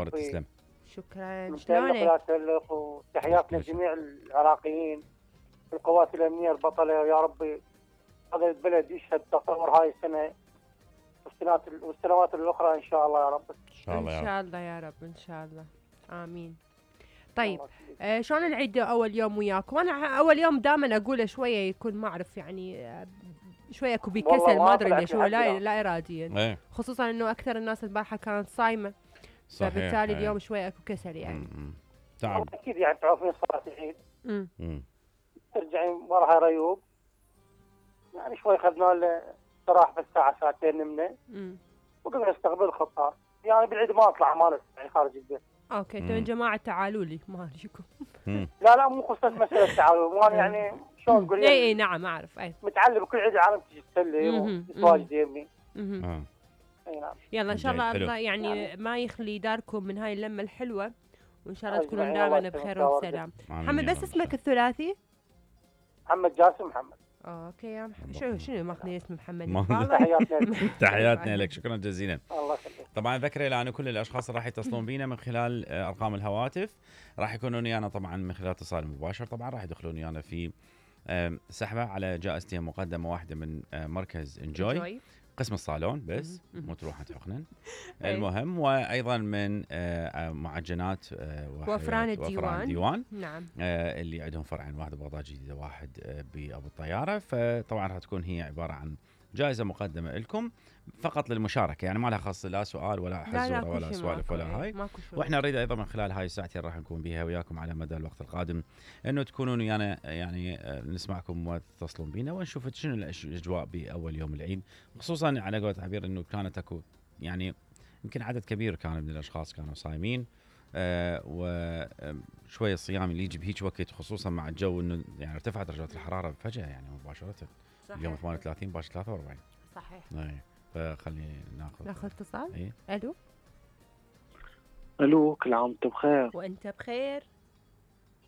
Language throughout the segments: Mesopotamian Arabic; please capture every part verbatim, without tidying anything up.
منوره تسلم. شكرا. شلونك؟ وتحياتنا لجميع العراقيين القوات الامنيه البطله، ويا ربي هذا البلد يشهد تطور هاي السنه والسنوات والسنوات الاخرى ان شاء الله يا رب. ان شاء الله ان شاء الله يا رب ان شاء الله. امين. طيب آه شلون العيد اول يوم وياك؟ وانا اول يوم دائما اقوله شويه يكون ما اعرف يعني آه شويه اكو بكسل ما ادري ليش هو لا لا اراديا ايه. خصوصا انه اكثر الناس البارحه كانت صايمه صحيح. فبالتالي اليوم شويه اكو كسل يعني. تعب اكيد يعني تعرفين صلاه العيد امم ترجعين وراها ريوب يعني شوي اخذنا له استراحه بس ساعه ساعتين نمنا امم وقمنا نستقبل الخطار. يعني بالعيد ما اطلع ما يعني خارج البيت. اوكي انتم يا جماعه تعالوا لي ما ادريكم. لا لا مو خصوصا مساله تعالوا ما يعني شلون نقول اي اي نعم اعرف اي متعلم كل عيد العالم تجي تسلم وتواجد يمي. اها اي نعم. يلا ان شاء الله الله يعني, يعني ما يخلي داركم من هاي اللمه الحلوه وان شاء الله تكونوا دائما بخير وبسلام. محمد بس اسمك الثلاثي؟ محمد جاسم محمد. اوكي يا محمد شنو شنو ماخذين اسم محمد؟ تحياتنا تحياتنا لك شكرا جزيلا. الله يخليك. طبعا ذكري لأن كل الاشخاص اللي راح يتصلون بينا من خلال ارقام الهواتف راح يكونون ويانا طبعا من خلال اتصال مباشر. طبعا راح يدخلون ويانا في سحبه على جائزتين مقدمه واحده من مركز انجوي قسم الصالون بس مو تروحوا تحقنن. المهم وايضا من معجنات وفران الديوان ديوان نعم اللي عندهم فرعين واحد ببغداد جديده واحد بابو الطياره. فطبعا راح تكون هي عباره عن جائزه مقدمه لكم فقط للمشاركه يعني ما لها خاص لا سؤال ولا حزوره ولا سوالف ولا هاي. واحنا نريد ايضا من خلال هاي الساعتين راح نكون بها وياكم على مدى الوقت القادم انه تكونون ويانا يعني نسمعكم وتتصلون بينا ونشوف شنو الاجواء باول يوم العيد خصوصا على قولة عبير انه كانت اكو يعني يمكن عدد كبير كان من الاشخاص كانوا صايمين آه وشويه الصيام اللي يجي بهيج وقت خصوصا مع الجو انه يعني ارتفعت درجات الحراره فجاه يعني مباشره. صحيح. اليوم ثمانية وثلاثين باش ثلاثة وأربعين. صحيح. اي فخلينا ناخذ ناخذ اتصال. اي الو الو كل عام وانت بخير. وانت بخير.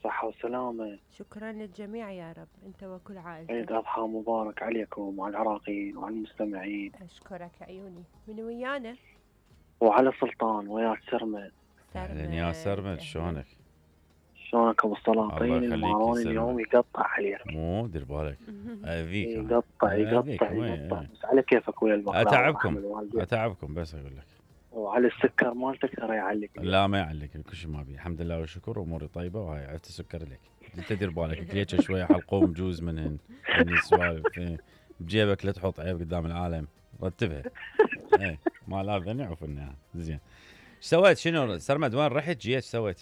صحة وسلامة. شكرا للجميع يا رب انت وكل عائلتك. عيد اضحى مبارك عليكم وعلى العراقيين وعلى المستمعين. اشكرك عيوني. من ويانا؟ وعلى سلطان وياك سرمد. اهلا يا سرمد شلونك؟ شلونك ابو السلاطين الماروني اليوم يقطع عليك. مو دير بالك اذيك يقطع يقطع يقطع بس على كيفك ويا البقره. اتعبكم اتعبكم بس اقول لك. وعلى السكر مالتك ترى يعلق. لا ما يعلق كل شيء ما بي الحمد لله والشكر اموري طيبه وهاي عرفت السكر لك انت دير بالك كليتش شويه حلقوم جوز منهن من السوالف بجيبك لا تحط عيب قدام العالم رتبها. ايه ما لازم نعرف انها زين. ايش سويت شنو سرمد وين رحت جيت ايش سويت؟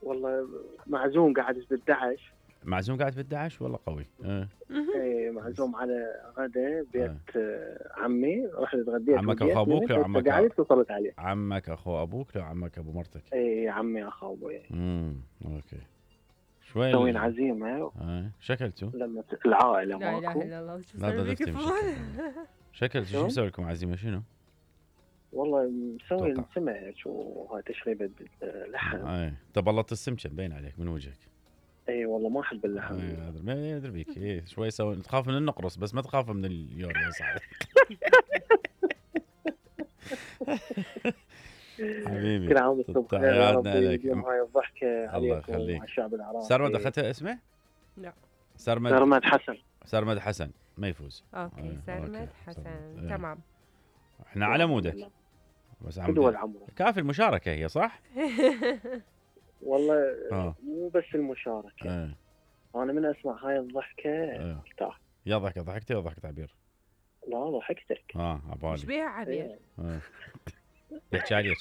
والله معزوم قاعد بالدعش. معزوم قاعد بالدعش والله قوي. اه ايه معزوم على غدا بيت اه. عمي رحت اتغديت. عمك اخو ابوك لو عمك قاعد اتصلت عليه. عمك اخو ابوك لو عمك ابو مرتك؟ ايه عمي اخو ابوي. امم اوكي شوي مسوين عزيمه. اه شكلتوا؟ لما العائله ماكو. لا اله الا الله لا ضفتي شكلتوا شو مسوي لكم عزيمه شنو؟ والله مسوي سمك وهاي تشريبه لحم. اي تبلط السمكه مبين عليك من وجهك. اي والله ما احب اللحم. اي ما ادري بيك اي شوي سوي تخاف من النقرص بس ما تخاف من اليور يا صاحبي. حبيبي كل عام وانتم بخير يا رب يجمع هاي الضحكه الله عليكم يخليك وعلى الشعب العراقي. سرمد اخذتها اسمه؟ لا سرمد سرمد حسن. سرمد حسن ما يفوز. اوكي سرمد حسن تمام. احنا على مودك بس عم كافي المشاركه هي صح؟ والله آه. مو بس المشاركه آه. انا من اسمع هاي الضحكه ارتاح. آه. يا ضحكه ضحكتي ولا ضحكت عبير؟ لا ضحكتك. اه عبالي ايش بيها عبير؟ اه يحكي عليك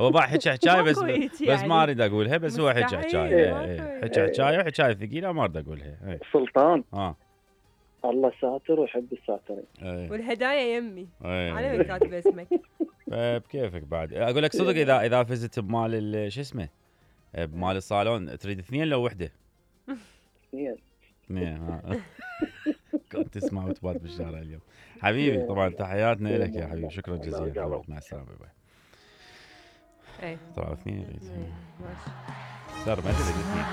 هو بقى حكي حكايه بس بس ما اريد اقولها بس هو حكي حكايه حكي حكايه وحكايه ثقيله ما اريد اقولها. سلطان اه الله ساتر ويحب الساترين. والهدايا يمي على من كاتب اسمك. بكيفك بعد اقول لك صدق اذا اذا فزت بمال شو اسمه بمال الصالون تريد اثنين لو وحده؟ اثنين. اثنين كنت تسمع وتبات بالشارع اليوم حبيبي. طبعا تحياتنا لك يا حبيبي شكرا جزيلا مع السلامه باي. اي طلعوا اثنين صار ما ادري اثنين